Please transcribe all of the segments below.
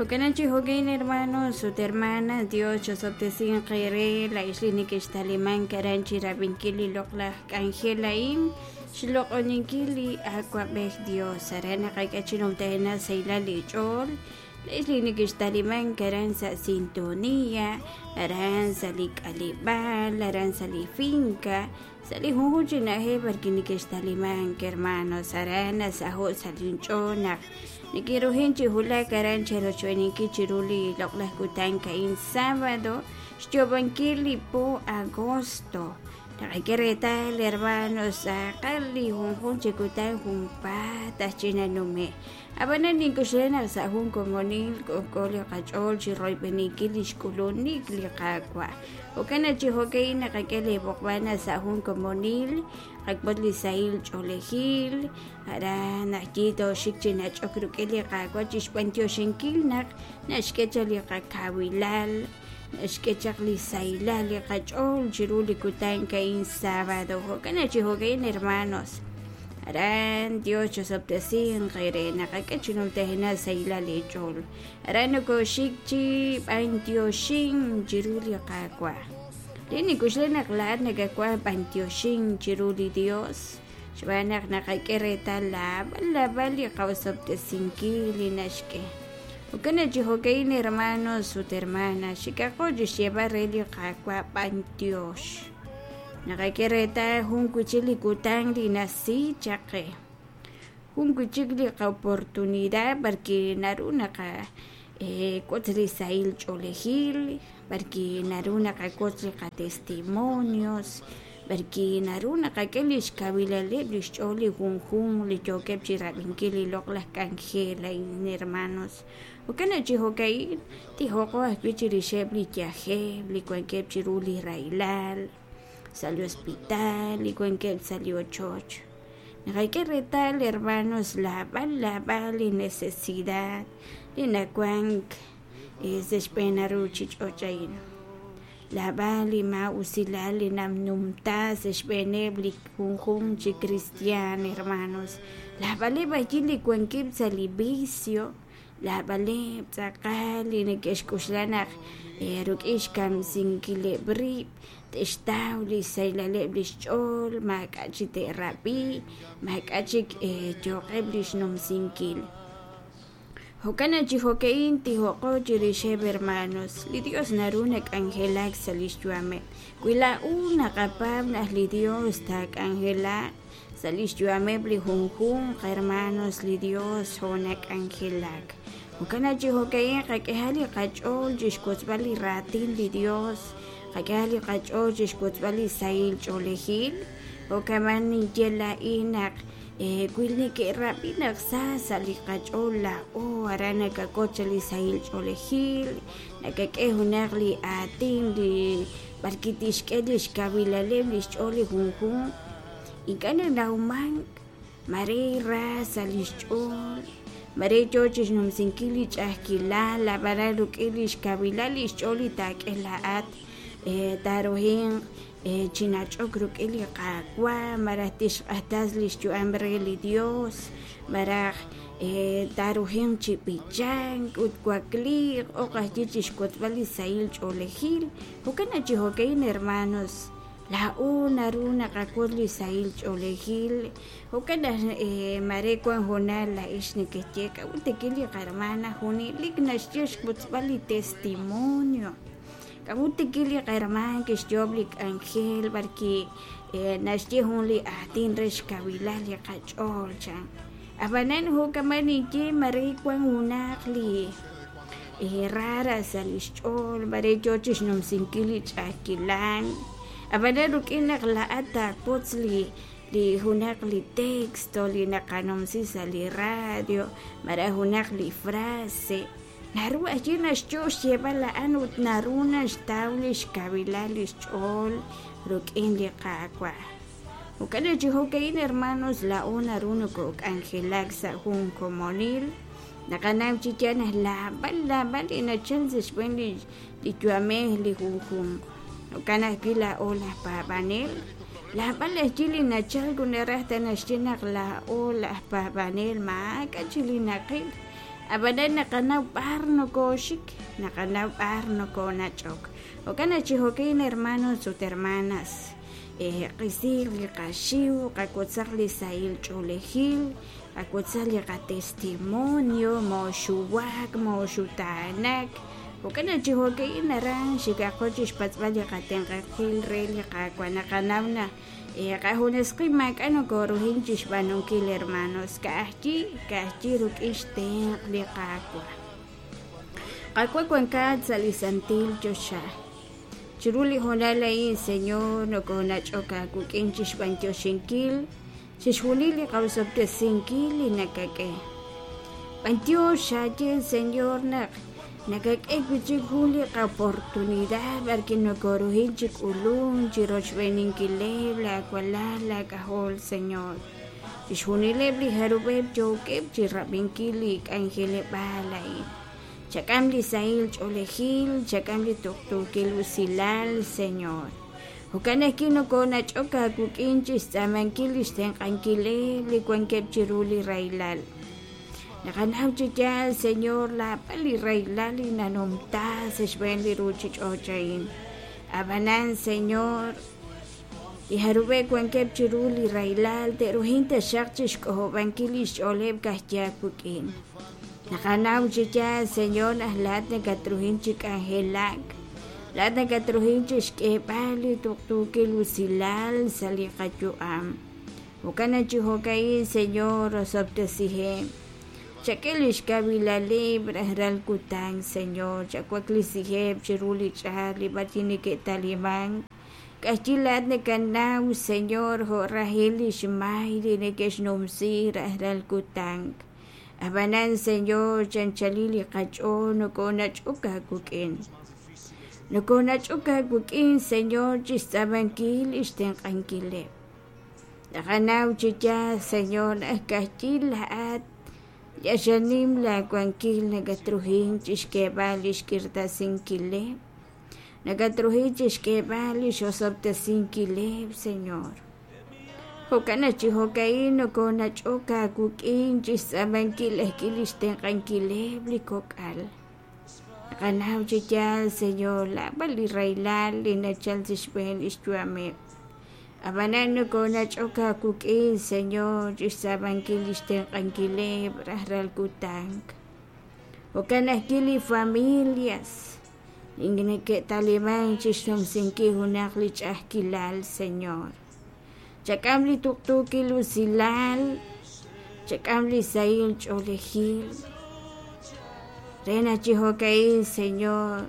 Jo'kan chi jo'kan hermanos ut hermanas, Dios chosob'tesinq eere laa'ex li nekextalimank aran chi rab'inkil li loq'laj k'anjel a'in, xloq'oninkil li Awa'b'ej Dios. Aran naqak'e chi numtajenaq sahilal li ch'ool, laa'ex li nekextalimank aran sa' sintonía, aran sa' li k'aleb'aal, aran sa' li finca, sa' li junjunq chi na'ajej b'arwi' nekextalimank hermanos. Aran nasaho' sa' linch'ool naq neke'rujin chi wulak aran cherochb'eeninkil chiru li loq'laj kutan a'in sábado, xyoob'ankil li po agosto. Naqak'e reetal hermanos, tz'aqal li junjunq chi kutan junpaat aj chi nanume'. Ab'anan nink'oxla naq sa' jun komonil k'ojk'o li qach'ool chi royb'eninkil li xk'ulunik li Qaawa'. Jo'kan naq chi jo'ka'in naqak'e leeb'oqb'al naq sa' jun komonil qak'ut li sahil ch'oolejil, aran naq yi tooxik chi nach'ok rik'in li Qaawa' chi xb'anyoxinkil naq naxk'e chaq li qakawilal, naxk'e chaq li sahilal li qach'ool chiru li kutan a'in sábado. Jo'kan naq chi jo'ka'in hermanos, aran Dios chosob'tesinq eere naqak'e chi numtajenaq sahilal eech'ool. Aran nokooxik chi b'anyoxink chiru li Qaawa'. Li nink'oxla naq laa'at nakawaj b'anyoxink chiru li Dios xb'aan naq naqak'e reetal naab'al naab'al li qa'osob'tesinkil li naxk'e. Jo'kan naq chi jo'ka'in hermanos ut hermanas, xikaqo chi xyeeb'al re li Qaawa' b'anyox. Naqak'e reetal jun wi' chik li kutan li nasi chaq qe, jun wi' chik li qa'oportunidad b'arwi' naru naqawotz li sahil ch'oolejil, b'arwi' naru naqawotz li qatestimonios, b'arwi' naru naqak'e li xkawilaleb' li xch'ool li junjunq li yookeb' chi rab'inkil li loq'laj k'anjel a'in hermanos. Jo'kan naq chi jo'ka'in tijoqo ajwi' chirixeb' li yajel li wankeb' chiru li rahilal, sa' li hospital, li wankeb' sa' li ochoch. Naqak'e reetal hermanos naab'al naab'al li necesidad li nawank sa' xb'een a ruuchich'och' a'in. Naab'al li maa'usilal li nanumta sa' xb'eeneb' li junjunq chi kristiaan hermanos. Naab'aleb' ajwi' li wankeb' sa' li vicio, naab'aleb' tz'aqal li neke'xk'oxla naq rik'in xkamsinkileb' rib' te'xtaw li xsahilaleb' li xch'ool, maak'a' chik te'rab'i, maak'a' chik yooqeb' li xnumsinkil. Jo'kan naq chi jo'ka'in tijoqo chirixeb' hermanos, li Dios naru nak'anjelak sa' li xyu'ameb'. Wi laa'o naqapaab' naq li Dios taak'anjelaq sa' li xyu'ameb' li junjunq hermanos, li Dios jo' nak'anjelak. Jo'kan naq chi jo'ka'in qak'ehaq li qach'ool chi xwotzb'al li raatin li Dios, qak'ehaq li qach'ool chi xwotzb'al li sahil ch'oolejil. Jo'kan ninye laa'in naq wi neke'rab'i naq sa sa' li qach'ool laa'o, aran nakak'ot chaq li sahil ch'oolejil, nakak'e junaq li aatin li b'arwi' tixk'e li xkawilaleb' li xch'ool li junjunq, ink'a' nanawmank mare ra sa' li xch'ool, mare yo chi xnumsinkil li ch'a'ajkilal, ab'anan rik'in li xkawilal li xch'ool li taak'e laa'at taaruhinq chi nach'ok rik'in li Qaawa', malaj tixq'axtes li xyu'am re li Dios, malaj taaruhinq chi b'ichank ut wakliiq oq ajwi' chi xwotzb'al li sahil ch'oolejil. Jo'kan naq chi jo'ka'in hermanos, laa'o naru naqawotz li sahil ch'oolejil. Jo'kan naq maare wank hoonal laa'ex nekeye k'a'ut rik'in li qahermana junelik naxye xwotzb'al li testimonio. K'a'ut rik'in li qahermaan kixyoob' li k'anjel b'arwi' naxye jun li aatin re xkawilal li qach'ool chan. Ab'anan jo'kaman ninye mare wank junaq li rara sa' li xch'ool, mare yo chi xnumsinkil li ch'a'ajkilal. Ab'anan rik'in naq laa'at taawotz li li junaq li texto li naqanumsi sa' li radio malaj junaq li frase, naru ajwi' naxyo' xyeeb'al a'an ut naru naxtaw li xkawilal li xch'ool rik'in li Qaawa'. Jo'kan naq chi jo'ka'in hermanos, laa'o naru nokok'anjelak sa' jun komonil. Naqanaw chi yaal naq naab'al naab'al li nachal sa' xb'een li yu'amej li junjunq. Jo'kan ajwi' laa'o laj paab'anel, naab'al ajwi' li nachalk ut naraj ta naxye naq laa'o laj paab'anel maak'a' chik li naqil. Ab'anan naqanaw b'ar nokooxik, naqanaw b'ar nokoonach'ok. Jo'kan naq chi jo'kin hermanos ut hermanas, qisiiq li qaxiw, qawotzaq li sahil ch'oolejil, qawotzaq li qatestimonio, mooxuwak, mooxutaanak. Jo'kan naq chi jo'ka'in aran xikaqo chi xpatz'b'al li qatenq'ankil re li Qaawa'. Naqanaw naq qajunes qib' maak'a' nokooruhin chi xb'aanunkil hermanos, ka'ajwi' ka'ajwi' rik'in xtenq' li Qaawa'. Qaawa' wankat sa' li santil choxa. Chiru li hoonal a'in, Señor, nokoonach'ok aawik'in chi xb'antioxinkil chixjunil li qaosob'tesinkil li nakak'e. B'antiox xaaye, Señor, naq nakak'e wi' chik jun li qa'oportunidad b'arwi' nokooruhin chi k'ulunk chi rochb'eeninkileb' laawalal laak'ajol, Señor. Chixjunileb' li jarub'eb' yookeb' chi rab'inkil li k'anjeleb'aal a'in. Chak'am li sahil ch'oolejil, chak'am li tuqtuukil usilal, Señor. Jo'kan ajwi' nokoonach'ok aawik'in chi xtz'aamankil li xtenq'ankileb' li wankeb' chiru li rahilal. Naqanaw chi yaal, Señor, laab'al li rahilal li nanumta sa' xb'een li ruuchich'och' a'in. Ab'anan, Señor, li jarub'eb' wankeb' chiru li rahilal te'ruhin taxaq chi xk'ojob'ankil li xch'ooleb' ka'ajwi' aawik'in. Naqanaw chi yaal, Señor, naq laa'at nakatruhin chi k'anjelak, laa'at nakatruhin chi xk'eeb'al li tuqtuukil usilal sa' li qayu'am. Jo'kan naq chi jo'ka'in, Señor, osob'tesiheb'. Chak'e li xkawilaleb' rajlal kutan, Señor, chawaklisiheb' chiru li ch'aat li b'arwi' neke'talimank. K'axyi laa'at nakanaw, Señor, jo' rajil li xmay li neke'xnumsi rajlal kutan. Ab'anan, Señor, chanchalil li qach'ool nokoonach'ok aawik'in. Nokoonach'ok aawik'in, Señor, chi xtz'aamankil li xtenq'ankileb'. Naqanaw chi yaal, Señor, naq ka'ajwi' laa'at li q'axal nim laawankil nakatruhin chi xk'eeb'al li xk'irtasinkileb', nakatruhin chi xk'eeb'al li x'osob'tesinkileb', Señor. Jo'kan naq chi jo'ka'in nokoonach'ok aawik'in chi xtz'aamankil ajwi' li xtenq'ankileb' li kok'al. Naqanaw chi yaal, Señor, laab'al li rahilal li nachalk sa' xb'een li xyu'ameb'. Ab'anan nokoonach'ok aawik'in, Señor, chi xtz'aamankil li xtenq'ankileb' rajlal kutan. Jo'kan ajwi' li familias li neke'talimank chi xnumsinkil junaq li ch'a'ajkilal, Señor. Chak'am li tuqtuukil usilal, chak'am li sahil ch'oolejil. Re naq chi jo'ka'in, Señor,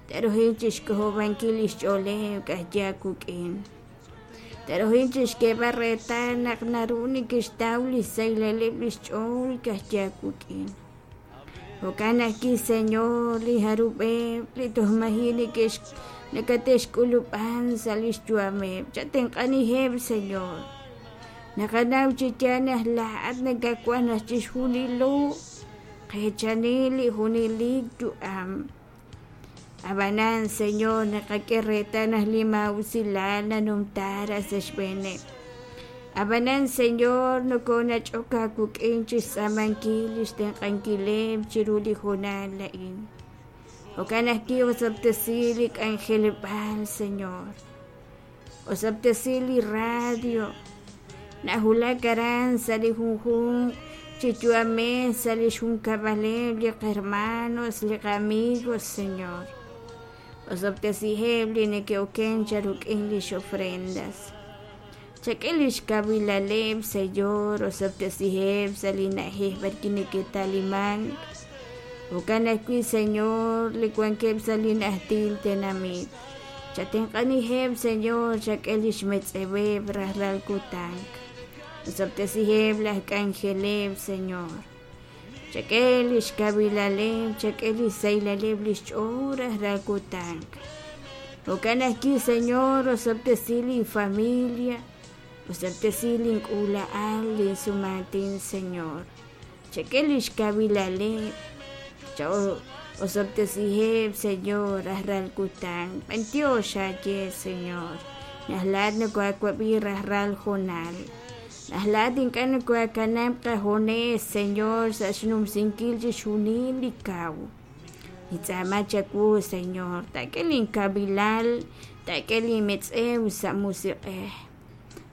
te'ruhin chixk'ojob'ankil lix ch'ooleb' k'a'ya wik'in. Te'ruhin chixk'eeb'al reetal naq naru neke'xtaw lix sahilaleb' lix ch'ool ka'ya wik'in. Jo'kan ajwi', Señor, li jarub'eb' li toj maji' neke'x nakate'xk'ulub'an sa' lix yu'ameb', chatenq'aniheb', Señor. Naqanaw chi yaal naq laa'at nakawaj naq chixjunilo qeechani li junelik yu'am. Ab'anan, Señor, naqak'e reetal naq li maa'usilal nanumta raj sa' xb'eeneb'. Ab'anan, Señor, nokoonach'ok aawik'in chi xtz'aamankil li xtenq'ankileb' chiru li hoonal a'in. Jo'kan ajwi' osob'tesi li k'anjeleb'aal, Señor. Osob'tesi li radio. Nawulak aran sa' li junjunq chi yu'amej sa' li xjunkab'aleb' li qhermanos, li qamigos, Señor. Osob'tesiheb' li neke'oken charuk'in lix ofrendas. Chak'e lix kawilaleb', Señor, osob'tesiheb' sa' li na'ajej b'arwi' neke'talimank. Jo'kan ajwi', Señor, li wankeb' sa' li najtil tenamit. Chatenq'aniheb', Señor, chak'e li xmetz'eweb' rajlal kutan. Osob'tesiheb' laj k'anjeleb', Señor. Chak'e li xkawilaleb', chak'e li xsahilaleb' li xch'ool rajlal kutan. Jo'kan ajwi', Señor, osob'tesi linfamilia, osob'tesi link'uula'al, linsumaatin, Señor. Chak'e li xkawilaleb', osob'tesiheb', Señor, rajlal kutan. B'antiox aawe, Señor, naq laa'at nokohaawab'i rajlal hoonal. Naq laa'at ink'a' nokoohakanab' qajunes, Señor, sa' xnumsinkil chixjunil li kaw. Nintz'aama chawu, Señor, taak'e linkawilal, taak'e linmetz'ew sa' musiq'ej.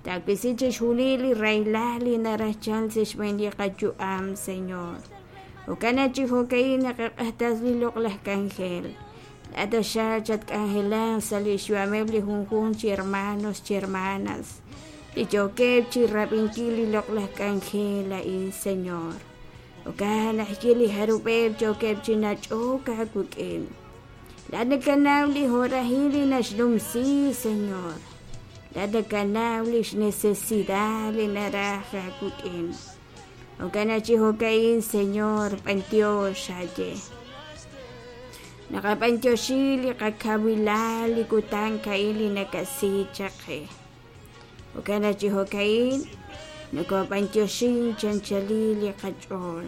Taawisi chixjunil li rahilal li naraj chalk sa' xb'een li qayu'am, Señor. Jo'kan naq chi jo'ka'in naqaq'axtesi li loq'laj k'anjel. Laa'at taxaq chatk'anjelaq sa' li xyu'ameb' li junjunq chi hermanos chi hermanas li yookeb' chi rab'inkil li loq'laj k'anjel a'in, Señor. Jo'kan naq ye li jarub'eb' yookeb' chi nach'ok aawik'in. Laa'at nakanaw li horahil li naxnumsi, Señor. Laa'at nakanaw li xnecesidad li naraj aawik'in. Jo'kan naq chi jo'ka'in, Señor, b'antiox xaye. Naqab'antioxi li qakawilal li kutan a'in li nakasi chaq qe. Jo'kan naq chi jo'ka'in nokob'antioxin chanchalil li qach'ool.